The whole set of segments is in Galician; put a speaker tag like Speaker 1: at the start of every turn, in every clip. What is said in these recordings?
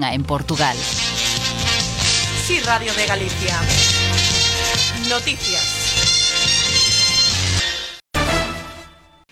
Speaker 1: non a en Portugal.
Speaker 2: Sí, Radio de Galicia. Noticias.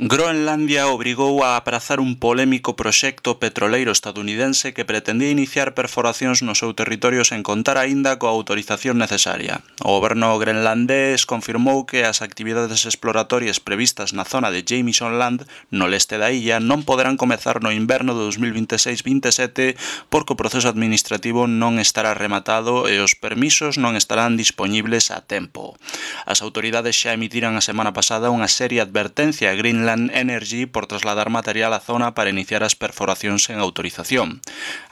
Speaker 3: Groenlandia obrigou a aprazar un polémico proxecto petroleiro estadounidense que pretendía iniciar perforacións no seu territorio sen contar aínda coa autorización necesaria. O goberno grenlandés confirmou que as actividades exploratorias previstas na zona de Jameson Land, no leste da illa, non poderán comezar no inverno de 2026-27 porque o proceso administrativo non estará rematado e os permisos non estarán dispoñibles a tempo. As autoridades xa emitiran a semana pasada unha seria advertencia a Greenland Energy por trasladar material á zona para iniciar as perforacións sen autorización.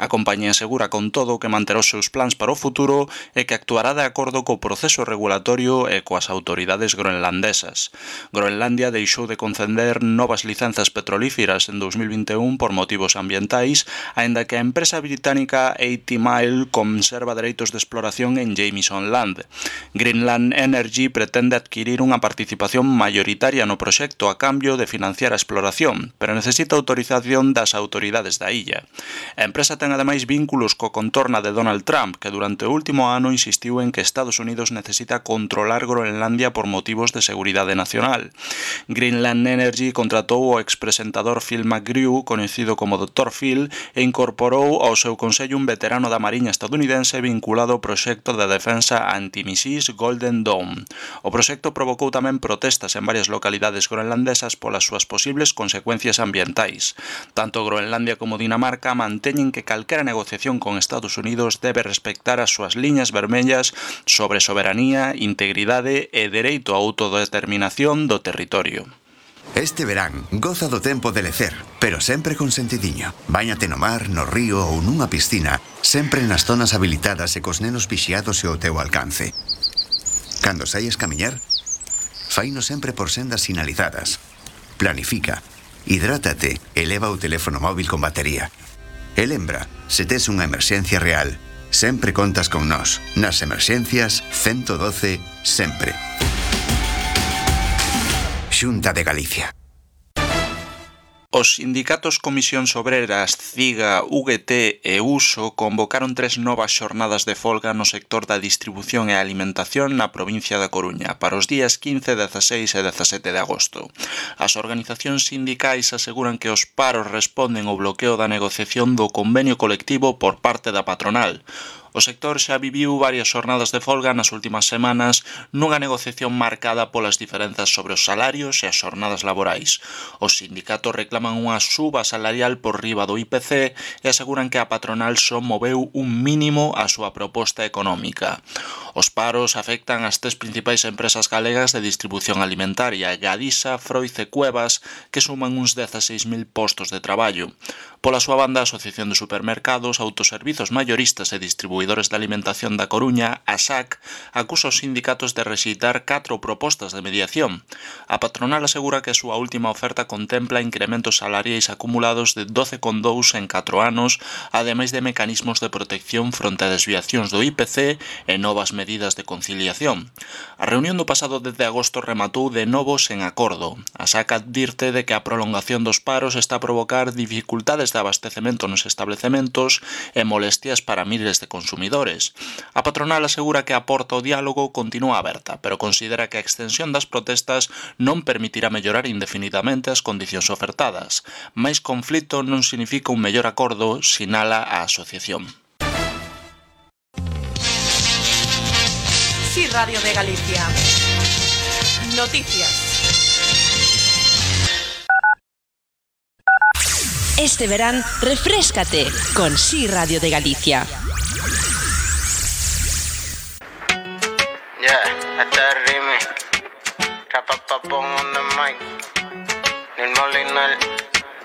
Speaker 3: A compañía asegura con todo que manterá os seus plans para o futuro e que actuará de acordo co proceso regulatorio e coas autoridades groenlandesas. Groenlandia deixou de conceder novas licenzas petrolíferas en 2021 por motivos ambientais, aínda que a empresa británica 80 Mile conserva dereitos de exploración en Jameson Land. Greenland Energy pretende adquirir unha participación mayoritaria no proxecto a cambio de financiar a exploración, pero necesita autorización das autoridades da illa. A empresa ten ademais vínculos co contorna de Donald Trump, que durante o último ano insistiu en que Estados Unidos necesita controlar Groenlandia por motivos de seguridade nacional. Greenland Energy contratou o expresentador Phil McGrew, conhecido como Dr. Phil, e incorporou ao seu consello un veterano da Mariña estadounidense vinculado ao proxecto de defensa antimissís Golden Dome. O proxecto provocou tamén protestas en varias localidades groenlandesas polas súas posibles consecuencias ambientais. Tanto Groenlandia como Dinamarca manteñen que calquera negociación con Estados Unidos debe respectar as súas liñas vermellas sobre soberanía, integridade e dereito á autodeterminación do territorio.
Speaker 4: Este verán, goza do tempo de lecer, pero sempre con sentidiño. Báñate no mar, no río ou nunha piscina, sempre nas zonas habilitadas e cos nenos vixiados e ao teu alcance. Cando saias camiñar, faino sempre por sendas sinalizadas. Planifica, hidrátate e leva o teléfono móvil con batería. E lembra, se tes unha emerxencia real, sempre contas con nós. Nas emerxencias, 112, sempre. Xunta de Galicia.
Speaker 3: Os sindicatos Comisións Obreras, CIGA, UGT e USO convocaron 3 novas xornadas de folga no sector da distribución e alimentación na provincia da Coruña para os días 15, 16 e 17 de agosto. As organizacións sindicais aseguran que os paros responden ao bloqueo da negociación do convenio colectivo por parte da patronal. O sector xa viviu varias xornadas de folga nas últimas semanas nunha negociación marcada polas diferenzas sobre os salarios e as xornadas laborais. Os sindicatos reclaman unha suba salarial por riba do IPC e aseguran que a patronal só moveu un mínimo a súa proposta económica. Os paros afectan as 3 principais empresas galegas de distribución alimentaria, Gadisa, Froiz e Cuevas, que suman uns 16.000 postos de traballo. Pola súa banda, a Asociación de Supermercados, Autoservizos Mayoristas e Distribuidores de Alimentación da Coruña, ASAC, acusa os sindicatos de rexeitar 4 propostas de mediación. A patronal asegura que a súa última oferta contempla incrementos salariais acumulados de 12,2 en 4 anos, ademais de mecanismos de protección fronte a desviacións do IPC e novas medidas de conciliación. A reunión do pasado 10 de agosto rematou de novo sen acordo. ASAC advirte de que a prolongación dos paros está a provocar dificultades de abastecemento nos establecementos e molestias para miles de consumidores. A patronal asegura que a porta ao diálogo continúa aberta, pero considera que a extensión das protestas non permitirá mellorar indefinidamente as condicións ofertadas. Mais conflito non significa un mellor acordo, sinala a asociación.
Speaker 2: Sí, Radio de Galicia. Noticias.
Speaker 1: Este verán, refréscate con Sí Radio de Galicia.
Speaker 5: Yeah, este es el remix. Rapapapón on the mic. Nil Molinel,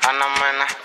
Speaker 5: Ana Mena.